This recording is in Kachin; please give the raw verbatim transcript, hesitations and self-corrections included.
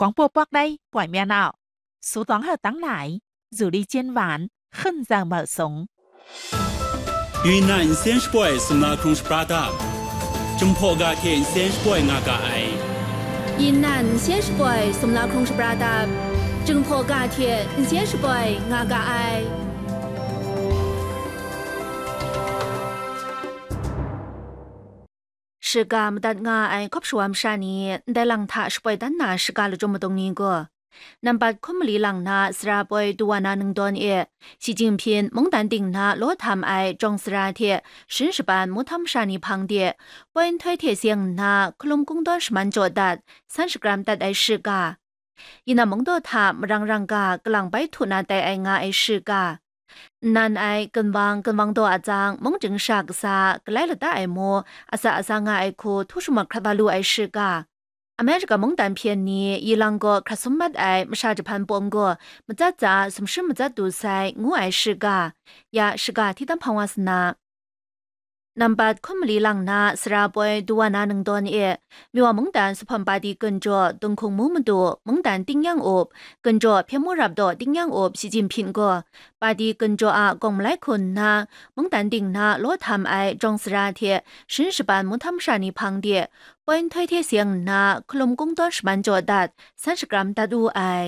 广播 Pakrai ပွင့်မြတ်အောင် စူးသွမ်းဟောက်တန်းလာ ဇူလီကျင်းဝိုင်း ဟွန်ဇာမုတ်စုံ။ ယိုၼ်ႇနၢၼ်ႇ အင်စင်းရှပွိုင် စူမ်လာခုံရှပရာတပ် Jinghpaw ga hte n seng shapoi nga ga ai. ယိုၼ်ႇနၢၼ်ႇ အင်စင်းရှပွိုင် စူမ်လာခုံရှပရာတပ် Jinghpaw ga hte n seng shapoi nga ga ai. ရှစ်ဂါ မတတ်ငါ ai ခပ်ရှဝမ်ရှါနီ ဒဲလင်ထ ရှပွိုင်တန်းနာ ရှစ်ဂါလကျုံမတုံနီကို နံပါတ်ခုနစ်မလီလင်န စရာပွိုင် ဒူဝါနာနုံဒွန် e, ရှီကျင့်ဖျင် မုန်းတန်တိင်န လောထမ် ai ကြောင်စရာ hte ရှင်းရှပန် မူထမ်ရှါနီ hpang de, ပွိုင်ထွဲ hte စင်န ခလုမ်ကုန်းတွင်း ရှမန်ကြော်ဒတ် ဆန်းရှကရမ် တတ် ai ရှစ်ဂါ, ယိုၼ်ႇနၢၼ်ႇ မုန်းဒေါ်ထ မရင်းရင်းက ကလင်ပိုင်ထု နာ တတ် ai ငါ ai ရှစ်ဂါ, နံၣ် ai ကၢၼ်ဝင်း ကၢၼ်ဝင်းဒေါ် အကျိုး မုန်းကျိုင်းရှ ကစား ကလၢႆလတ်တ ai မူ အစ အစ ငါ ai ဟူ ထူရှုမွတ် ခရပ်ဝါလူ ai ရှစ်ဂါ, အမေရိကန် မုန်းတန်ဖျင် နီ ယီလင် ဂေါ် ခရပ်စုမ်မတ် ai မရှါ Japan ပွမ် ဂေါ် မကျတ်ကျ စူမ်ရှင်း မကျတ်တူ sai ငူ ai ရှစ်ဂါ, ယ ရှစ်ဂါ ထီးတမ် ဖင်ဝါစန နံပါတ်ခုနစ်မလီလင်န စရာပွိုင် ဒူဝါနာနုံဒွန် e, မြန်မာ့ မုန်းတန် စူဖမ် ပါတီ ကၠိၼ်ႇကၠေႃႇ တုန်ႇခုင်မူးမတူ မုန်းတန် တင်းယင်းအုပ် ကၠိၼ်ႇကၠေႃႇ ဖျက်မှုရပ်တော် တင်းယင်းအုပ် ရှီကျင့်ဖျင် ဂေါ် ပါတီ ကၠိၼ်ႇကၠေႃႇ အ ကောင်းမလၢႆး ခုၼ် န မုန်းတန်တိင်န လောထမ် ai ကြောင်စရာ hte ရှင်းရှပန် မူထမ်ရှါနီ hpang de, ပွိုင်ထွဲ hte စင်န ခလုမ်ကုန်းတွင်း ရှမန်ကြော်ဒတ် ဆန်းရှကရမ် တတ် အူ ai.